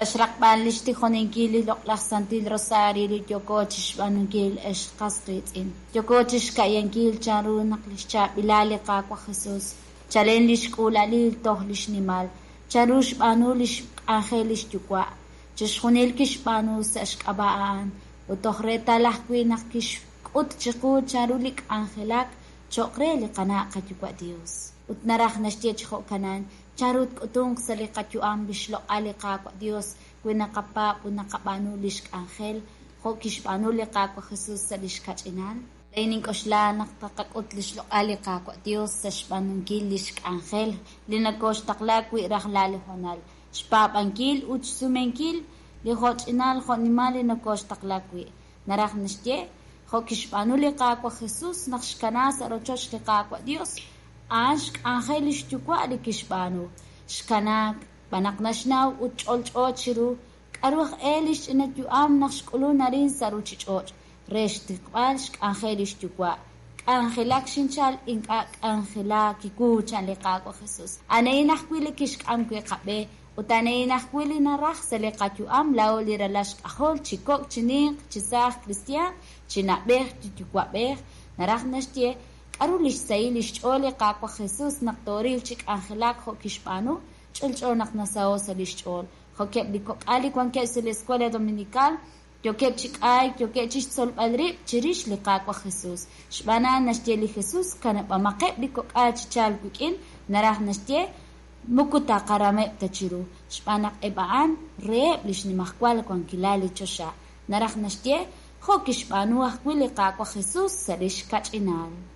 Sa' xraqb'al lix tijoninkil li loq'laj Santil Rosario li yooko chixb'aanunkil, ex qas qiitz'in, yooko chixka'yankil chanru naq lix chaab'ilal li Qaawa' Jesus, chalen lix k'uula'alil toj lix nimal, chanru xb'aanu lix k'anjel lix Yuwa'. Chixjunil kixb'aanu sa' xk'ab'a' a'an, ut toj reetal ajwi' naq kixk'ut chiqu chanru li k'anjelak cho'q re li qana' qayuwa' Dios. Ut naraj naxye chi jo'kanan, chanru tk'utunq sa' li qayu'am li xloq'al li Qaawa' Dios wi naqapaab' ut naqab'aanu lix k'anjel jo' kixb'aanu li Qaawa' Jesus sa' lix kach'inal? Laa'in nink'oxla naq taqak'ut lix loq'al li Qaawa' Dios sa' xb'aanunkil lix k'anjel li nokoxtaqla wi' rajlal li hoonal, xpaab'ankil ut xsumenkil li jo'ch'inal jo'nimal li nokoxtaqla wi'. Naraj naxye, jo' kixb'aanu li Qaawa' Jesus naq xkana sa' rochoch li Qaawa' Dios, a'an xk'anjel lix Yuwa' li kixb'aanu. Xkanaak, xb'aan naq naxnaw ut ch'olch'o chiru k'aru aj e li xch'ina yu'am naq xk'ulun arin sa' ruuchich'och' re xtiqb'al xk'anjel lix Yuwa'. K'anjelak xinchal, ink'a' k'anjelaak kiwu, chan li Qaawa' Jesus. A'ana'in ajwi' li kixk'am wi' qab'e ut a'ana'in ajwi' li naraj sa' li qayu'am laa'o li ralal xk'ajol, chi kok', chi ninq, chi saaj kristiaan, chi na'b'ej, chi yuwa'b'ej. Naraj naxye k'aru li xsahil li xch'ool li Qaawa' Jesus naq tooril chi k'anjelak jo' kixb'aanu, ch'olch'o naq nasaho' sa' li xch'ool. Jo'keb' li kok'al li wankeb' sa' li Escuela Dominical, yookeb' chi k'ayk, yookeb' chixtzolb'al rib' chirix li Qaawa' Jesus. Xb'aan a'an naxye li Jesus, kanab'amaqeb' li kok'al chi chalk wik'in, naraj naxye, moko taqarameb' ta chiru, xb'aan naq eb' a'an reheb' li xnimajwal wankilal li choxa. Naraj naxye, jo' kixb'aanu ajwi' li Qaawa' Jesus sa' lix kach'inal.